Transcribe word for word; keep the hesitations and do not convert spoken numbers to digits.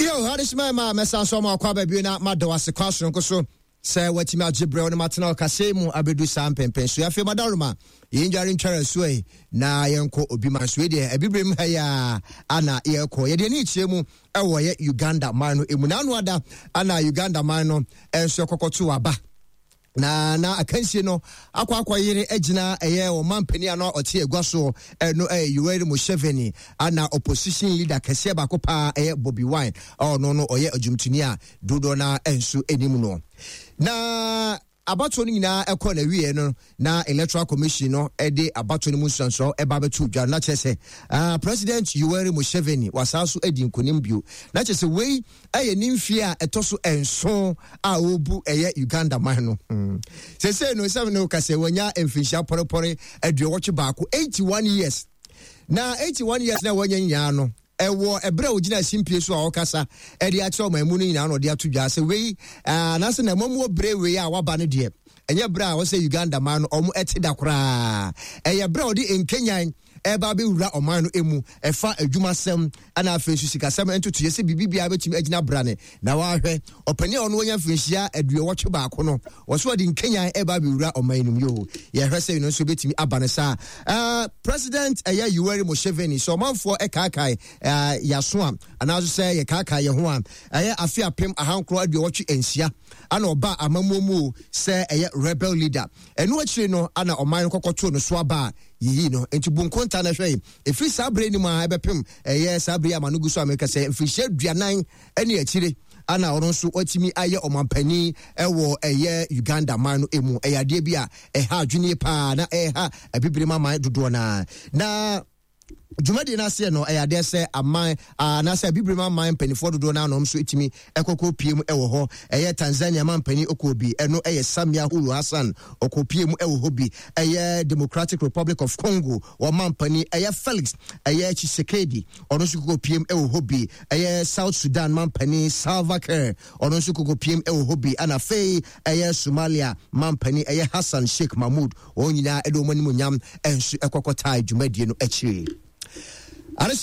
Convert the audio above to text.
Yo, adesima ma mɛsan so ma akɔ aba bio na mada wo ase kwan soronko so sɛ watumi agye berɛ no matena ɔkasɛɛ mu abɛdu saa mpɛmpɛn so. Afei madaroma yɛndware ntware asuo yi na yɛnkɔ obi man so. Deɛ abibirem ha yi a ana yɛkɔ, yɛde ani kyerɛ mu ɛwɔ yɛ Uganda man no emu. Na ano ada ana Uganda man no nso ɛkɔkɔto aba na na akansie no akɔ akɔyere agyina ɛyɛ ɔman panin a na ɔte agua soɔ ɛno ɛyɛ Yoweri Museveni ana opposition leader kɛseɛ baako paa ɛyɛ Bobi Wine a ɔno no ɔyɛ adwumtoni a dodoɔ no nso anim no. Na abatoɔ no nyinaa ɛkɔ na wie no na Electoral Commission no ɛde abatoɔ no mu nsuansuo ɛba abɛto dwa no, na kyerɛ sɛ uh, President Yoweri Museveni wasan so adi nkonim bio, na kyerɛ sɛ wei ɛyɛ ne mfie a ɛtɔ so nson a ɔrebu ɛyɛ Uganda man no hmm. Sesei no sɛm ne woka sɛ wanya mfinhyia pɔrepɔre aduɔwɔtwe baako, eighty-one years. Na eighty-one years na wanya nyinaa no, ɛwɔ ɛberɛ a ogyina simpie so a ɔkasa ɛde akyerɛ ɔman mu no nyinaa na ɔde ato dwa sɛ wei anaasɛ na ɛmɔmuo bere wei a waba no deɛ, ɛnyɛ berɛ a wɔsɛ Uganda man no ɔmo ɛte da koraa. Ɛyɛ berɛ a ɔde nkenyan ɛba bɛwura ɔman no emu, ɛfa adwumasɛm ɛna afei nso sikasɛm ntotoyɛ sɛ biribi biara bɛtumi agyina brane. Na wahwɛ ɔpanin a ɔno wanya mfirinhyia aduɔwɔtwe baako no, wɔso ɔde nkenyan ɛba bɛwura ɔman no mu. Yo, yɛhwɛ sɛ ɛno nso bɛtumi aba no saa. uh, president ɛyɛ Yoweri Museveni, sɛ ɔmanfoɔ ɛkaakae uh, yaso a anaasɛ sɛ yɛkaakae yɛn ho a, ɛyɛ afe apem ahankoro aduɔwɔtwe nsia ana ɔba amammuo mu sɛ ɛyɛ rebel leader. Ɛno akyire no ana ɔman no kɔkɔtoo no so aba a yiyi no. Nti bu nkonta no hwɛ yi, ɛfiri saa berɛ no mu a ɛbɛpem ɛyɛ saa berɛ ama no gu so a meka sɛ mfirihyia aduanan ne akyire ana ɔno nso watumi ayɛ ɔmampanin ɛwɔ ɛyɛ Uganda man no mu. Ɛyɛ adeɛ bi a ɛha adwene paa na ɛha abibire aman dodoɔ naa. Na dwumadie no aseɛ no, ɛyɛ adeɛ sɛ aman anaasɛ abibire aman mpanimfoɔ dodoɔ no anom nso ɛtumi ɛkɔkɔ pie mu ɛwɔ hɔ. Ɛyɛ Tanzania man panin ɔkɔ bi, ɛno ɛyɛ Samia Suluhu Hassan, ɔkɔ pie mu ɛwɔ hɔ bi. Ɛyɛ Democratic Republic of Congo wɔn panin ɛyɛ Felix ɛyɛ Tshisekedi, ɔno nso kɔkɔ pie mu ɛwɔ hɔ bi. Ɛyɛ South Sudan man panin Salva Kiir, ɔno nso kɔkɔ pie mu ɛwɔ hɔ bi. Ɛna afei ɛyɛ Somalia man panin ɛyɛ Hassan Sheikh Mahmoud. Wɔn nyinaa ɛde wɔn anim nyam ɛnso ɛkɔkɔ taa dwumadie no akyire. Adesoma.